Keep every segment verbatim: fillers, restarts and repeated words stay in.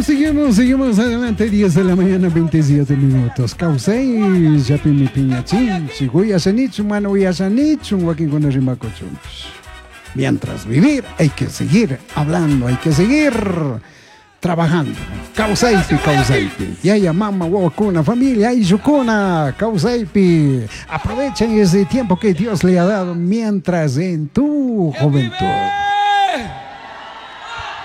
Seguimos, seguimos adelante, diez de la mañana, veintisiete minutos. Kawsay, llapimi piñachinchik, uyashanichu, mana uyashanichu, wakinkuna rimakuchunpish. Mientras vivir, hay que seguir hablando, hay que seguir trabajando. Kawsaypi, kawsaypi. Yaya, mama, wawakuna, familia, ayllukuna, kawsaypi. Aprovechen ese tiempo que Dios le ha dado mientras en tu juventud.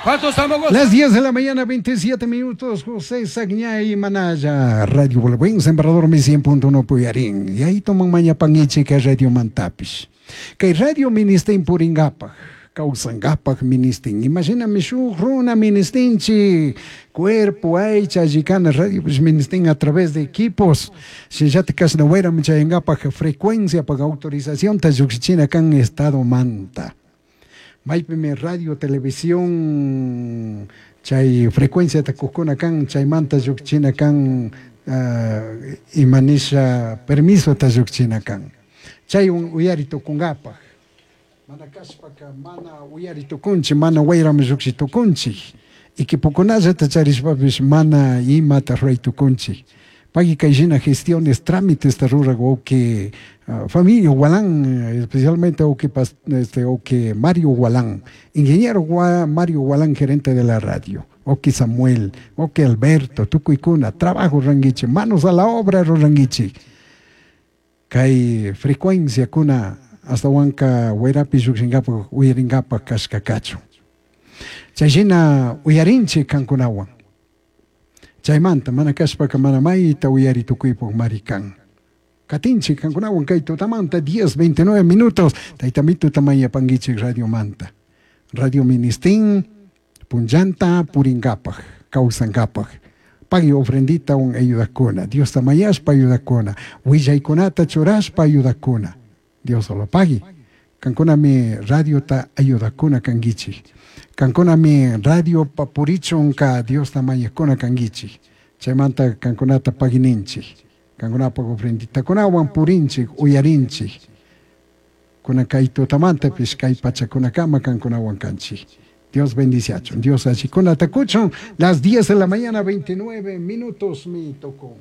¿Cuántos estamos? Las diez de la mañana, veintisiete minutos, José Sagñay Manaya, Radio Buen Sembrador, mi cien punto uno Puyarín. Y ahí toman maña pangiche que Radio Mantapish. Que Radio Ministin Puringapa, Kausangapaj Ministin. Imagíname shuj runa ministinchi, cuerpo, aicha, yicana, radio pues ministin a través de equipos. Si ya te casna huera, michayangapaj frecuencia, paga autorización, tayuxichina kan estado manta. Maypimi radio, televisión, chay frecuencia takujkuna kan, chaymanta llukchina kan, uh, imanisha permiso ta llukchina kan. Chay un uyari tukunkapaj. Mana kashpaka, mana uyari tukunchi, mana wayrami llukshi tukunchi. Equipokunallata charishpapish mana imata ruray tukunchi. Pagui kayshina gestiones, trámites ta rurak wawqi, uh, familia Gualán, especialmente wawqi pas, este, wawqi Mario Gualán, ingeniero Gua, Mario Gualán, gerente de la radio, wawqi Samuel, wawqi Alberto, tukuykuna, trabajo ranguichi, manos a la obra ruranguichi. Kay frecuencia kuna hasta huanca wayrapi llukshinkapak, uyarinkapak kashkakachu. Chayshina uyarinchik kankunawan. Chaymanta mana kashpaka mana mayta uyari tukuypuk marikan. Katinchik kankunawan kay tutamanta diez veintinueve minutos. Taytamito tamayapanguichik Radio Manta. Radio Ministín, punllanta puringapaj, kawsankapaj. Pagui ofrendita un ayudakuna. Dios tamayashpa ayudakuna. Willaykunata churashpa ayudakuna. Dios solo pagui. Kankunami radio ta ayudakuna kanguichik. Kankunami radio papurichunka Dios tamayakuna kanguichik. Chaymanta kankunata paguininchik. Kankunapaj ofrenditakunawan purinchik, uyarinchik. Kuna kay tutamantapis kay pachakunakama kankunawan kanchik. Dios bendiciachun, Dios achikunata kuchun. Las diez de la mañana, veintinueve minutos mi tocó.